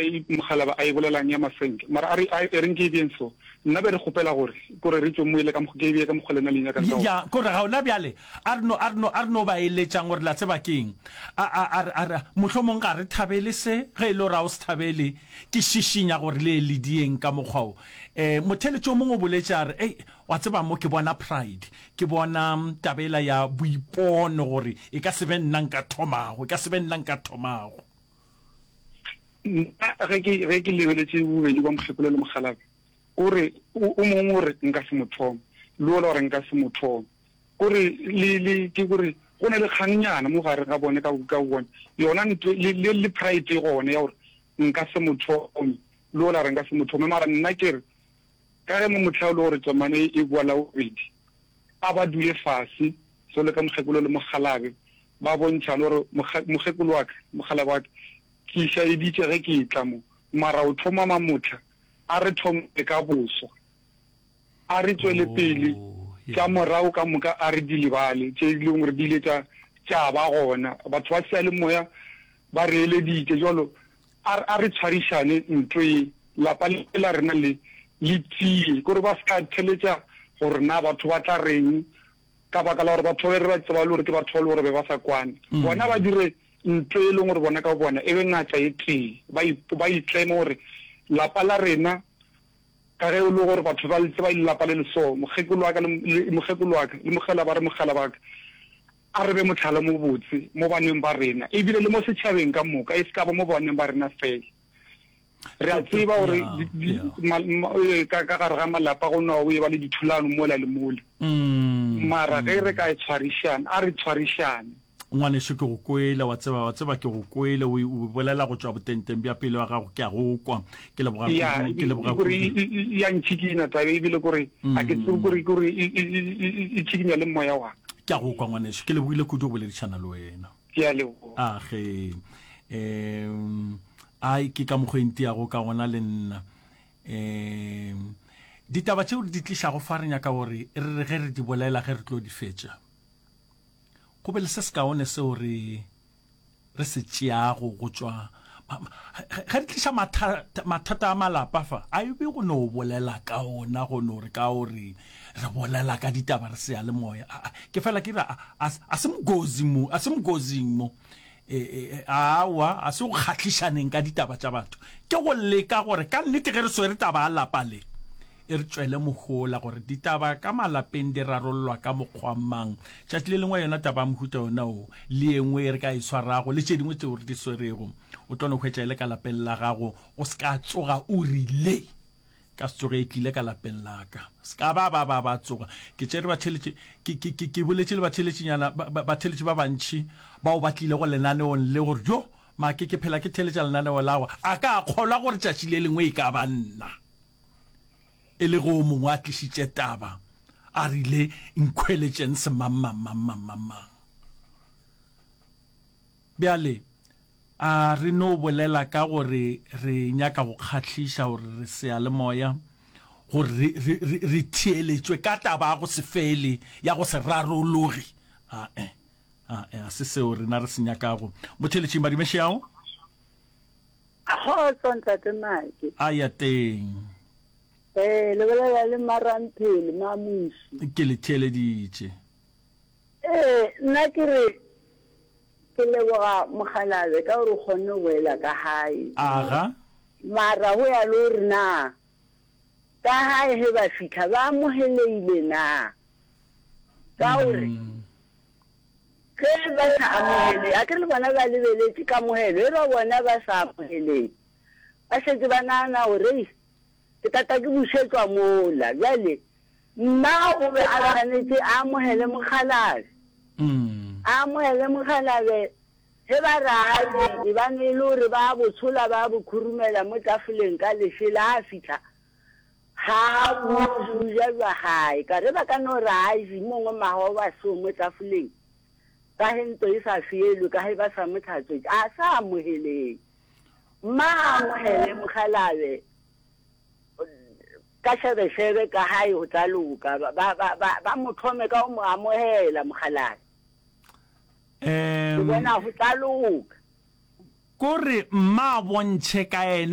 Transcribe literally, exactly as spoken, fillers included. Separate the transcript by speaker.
Speaker 1: e mokgalaba a e bolelang ya masenke mara a re a e reng ke e beng so nna be re kgopela gore kore re tswe mo ile ka mokgwa ke e beye ka mokgwa lena le nyakang ka
Speaker 2: Ya, kore ga ona bjale a re no a re no a re no ba eletšang gore la tseba keng a a a re a re mohlomong ga re thabele se ge e le gore a o se thabele ke šišinya gore le le dieng ka mokgwa o eh motheletši o mongwe o boletše a re ei wa tseba mo ke bona pride ke bona tabela ya boipono gore e ka se be nna nka thomago e ka se be nna nka thomago.
Speaker 1: Nna ge ke ge ke lebeletše bobedi ba mokgekolo le mokgalabje o re o mongwe o re nka se mo thome le ola gore nka se mo thome kore le le ke gore go na le kgangnyana mo gare ga bone ka ka bone yona ntwe le le le pride gone ya gore nka se mo thome le ola re nka se mo thome mara nna ke re ka ge mo motlha o le gore tsomane e boa la bobedi a ba dule fase so le ka mokgekolo le mokgalabe ba bontšha le gore mokgekolo wa ka mokgalabe wa ka ke išaeditše ge ke etla mo mara o thoma mamotlha a re thome ka boswa a re tswele pele tša morago ka moka a re di lebale tše e leng gore di ile tša tša ba gona batho ba seyalemoya ba re eleditše jalo a re tshwarišane ntlo e lapa le la rena le le tie kore ba se ka theletša gore na batho ba tla reng ka baka la gore batho ba re ba tseba le gore ke batho ba le gore be ba sa kwane bona ba dire ntlo e leng gore bona ka bona e be ngata e tee ba ba itleme gore lapa la rena ka ge e le gore batho ba tseba lelapa le le so mokgekolo wa ka le mokgekolo wa ka le mogela ba re mogela ba ka a re be motlhala mo botse mo baneng ba rena ebile le mo setšhabeng ka moka e se ka ba mo baneng ba rena fela re a tseba gore ka ka gare ga malapa go no o e ba le dithulano mola le mola mara ge re ka e tshwarišana a re tshwarišane
Speaker 2: ngwaneso ke go kwele wa tseba wa tseba ke go kwele o o bolela go tšwa botenteng bja pelo ya gago ke a go kwa ke leboga ke leboga
Speaker 1: gore ya ntšhikinya taba ebile kore a ke tsebe kore kore e tšhikinya le moya wa
Speaker 2: ke a go kwa ngwaneso ke lebogile kudu go boledišana le wena
Speaker 1: ke a leboga
Speaker 2: a ge um ai ke ka mokgwa enti yago ka gona le nna um ditaba tšeo re di tlišago fa re nyaka gore re re ge re di bolela ge re tlo di fetša go be le se sekaone seo re re se tšeago go tšwa ge re tliša mathata a malapa fa a e be go no bolela ka ona go no re ka gore re bolela ka ditaba re seyalemoya ke fela ke re a se mogozi mo a se mogozing mo awa a se go kgahlišaneng ka ditaba tša batho ke go leka gore ka nnete ge re swere taba a lapa le e re tšwele mohola gore ditaba ka malapeng di rarollwa ka mokgwa mang tšatši le lengwe yona taba ya mohuta yona o le engwe e re ka e swarago le tše dingwe tseo re di swerego o tlo no hwetša e le ka lapeng la gago o se ka tsoga o rile ka se tsoge e tlile ka lapeng la ka se ka ba ba ba ba tsoga ke tšere batheletši ke ke ke ke boletše le batheletšinyana batheletši ba bantši bao ba tlile go lenaneong le gore jo make ke phela ke theletša lenaneo lago a ka kgolwa gore tšatši le lengwe e ka ba nna e le go mongwe a tlišitše taba a rile nkhweletšeng semangmangmangmangmang bjale a re no bolela ka gore re nyaka go kgahliša gore re seyalemoya gore re, re, re, re theeletšwe ka taba ya go se fele ya go se rarologe ae ae a se seo rena re se nyakago motheletšing badimešeago
Speaker 3: Kgotso ntate Mike.
Speaker 2: A ya teng.
Speaker 3: Eh, le bolela le Maramphele Mamuši.
Speaker 2: Ke le theeleditše.
Speaker 3: Eh, nna ke re ke leboga mogalabe ka gore o kgonne go boela ka gae.
Speaker 2: Aga.
Speaker 3: Mara go ya le gore na ka gae ge ba fitlha ba amogeleile na ka gore ge ba sa amogele a ke le bona ba lebeletše kamogelo e ba bona ba sa amogeleng ba šetše ba nagana gore ke tata ke bušetšwa mola bjale mma o be a tshwanetše a amogele mokgalabe a amogele mokgalabe ge ba re a e bane e le gore ba botshola ba bo khurumela mo tafoleng ka lešela a fitlha ga boja jwa gae ka re ba ka no re a je mongwe magoba so mo tafoleng ka ge ntlo e sa fielwe ka ge ba sa mo tlhatswetse a sa amogeleng mma a amogele mokgalabe ka šebešebe ka gae go tla loka ba ba ba ba mo thome ka go mo amogela mokgalabe ke
Speaker 2: um
Speaker 3: bona go tla loka
Speaker 2: kore mma a bontšhe ka ena